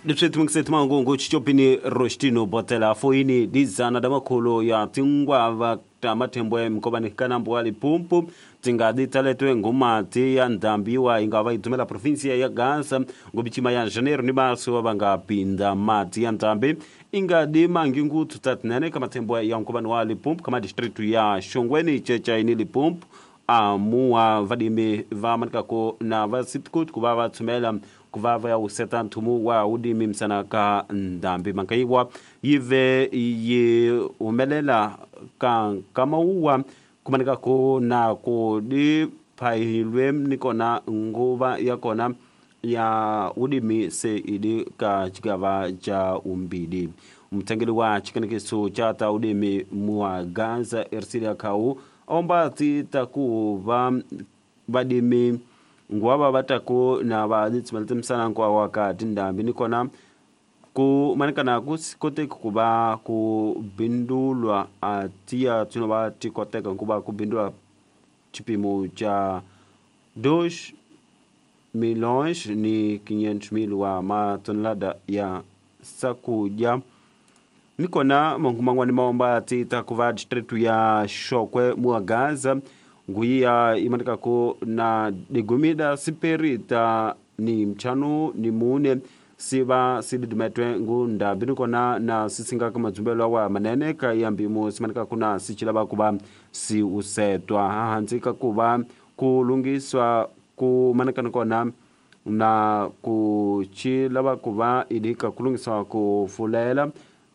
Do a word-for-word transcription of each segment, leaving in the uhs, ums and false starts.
Leswi mangungu chichopini Rostino Botela foini dizana da makhulu ya tingwava ta mathembwe mkovani kanambo wa Limpopo tingadi taletwe ngumati ya ndambiwa ingava itumela provinsia ya Gaza ngobichima ya Janeiro ni março vanga pinda mati ya ndambi ingadi mangingu tutatinene kama thembwe ya mkovani wa Limpopo kama distritu ya Shongweni chechaini Limpopo amua vadimi va manikako na vasitkut kuva vatsumela kuva va ya useta nthumu wa udimi msana ka ndambi mankaiwa yive yi humelela ka kamauwa kumanikako na ku di phahilwe nikona nguva ya kona ya udimi se idi ka chikava cha umbili mutengeli wa chikanekiso cha ta udimi mwa Gaza Ersilia Kau omba ti taku va vadimi ngwava vatako na vaditsimela msana nkwa wakati ndambi nikona ku manikana ku koteka kuva ku bindulwa atiya tsino va tikoteka nkuva ku bindulwa chipimo cha dois milhões ni quinhentos mil wa matonelada ya sakudya nikona manguman'wani maomba ti takuva distritu ya Shokwe mua Gaza nguiya imanikako na digumida siperita ni mchanu ni mune siva sididumetwe ngundambi nikona na sisingaka madzumbelo wa manene ka yambimo simanikako na sichilava kuva siusetwa hahansi ka kuva kulungiswa kumanika nikona na kuchilava kuva idika kulungiswa kufulela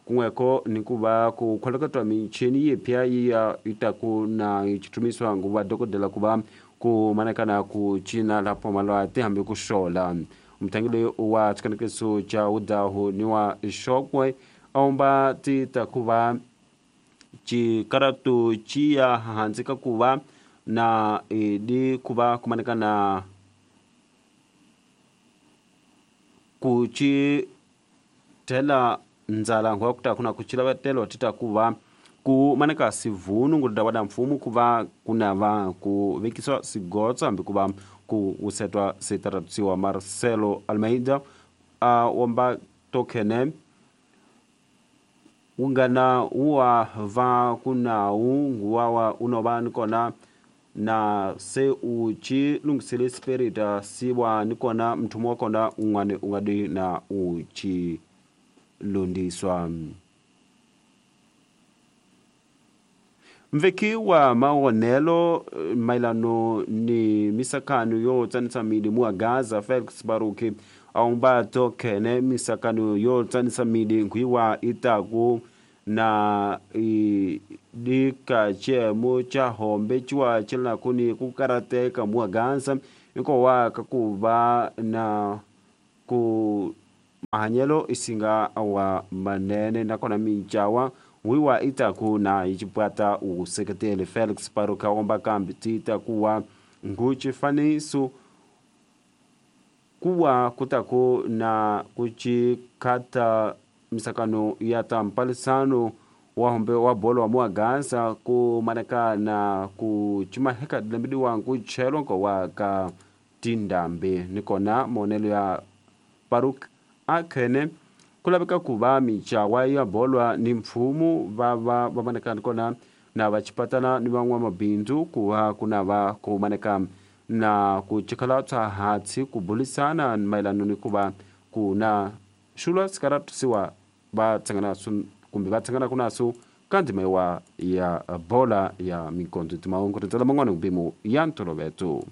kunweko nikuva kukholeketwa michini yipya iya itaku na ichitumiswa nguva dokodela kuva kumanekana kuchina lapho malwati hambi kuxola mutangeli wa chikanekiso cha udahu ni wa Shokwe aomba ti takuva chikaratu chiya hansi ka kuva na idi kuva kumanekana kuchi tela nzala ngwa kuta kuna kuchila vatelo tita kuva ku maneka sivunu ngudada wada mfumu kuva kuna va ku vekiswa sigotsa hambi kuva ku usetwa sitaratusiwa Marcelo Almeida a womba tokene ungana uwa va kunau nguwawa unova nikona na se uchi lungisele spirita siwa nikona mthumu wa kona un'wani ungadi na uchi lundiswa mveki wa maonelo mailano ni misakano yo tsanisa midi mua Gaza Felix Baruki aumba tokene misakano yo tsanisa midi nkwiwa itaku na dika chemo cha hombe chwa chila kuni kukarateka mua Gaza iko wa kakuva na ku mahanyelo isinga wa manene nakona minchawa wiwa itaku na ichipwata usekretele Felix Baruka omba kambi tita kuwa nguchifaniso kuwa kutaku na kuchikata misakano ya tampalisano wahombe wa bolo wa mua Gaza kumaneka na kuchimaheka dilembidi wangu chelwa wa ka tindambi nikona monelo ya Baruk akhene kulaveka kuva michawa ya bolwa ni mfumu va va va maneka nikona na vachipatana ni van'wamabindzu kuva kuna va kumaneka na kuchikhala tswa hatsi kubulisana mayelano ni kuva kuna xulwa sikaratusiwa va tsangana kumbe va tsangana kunaso ka ndzima ya bola ya minkondzo timahungu rindzela man'wana mpimo ya ntoloveto.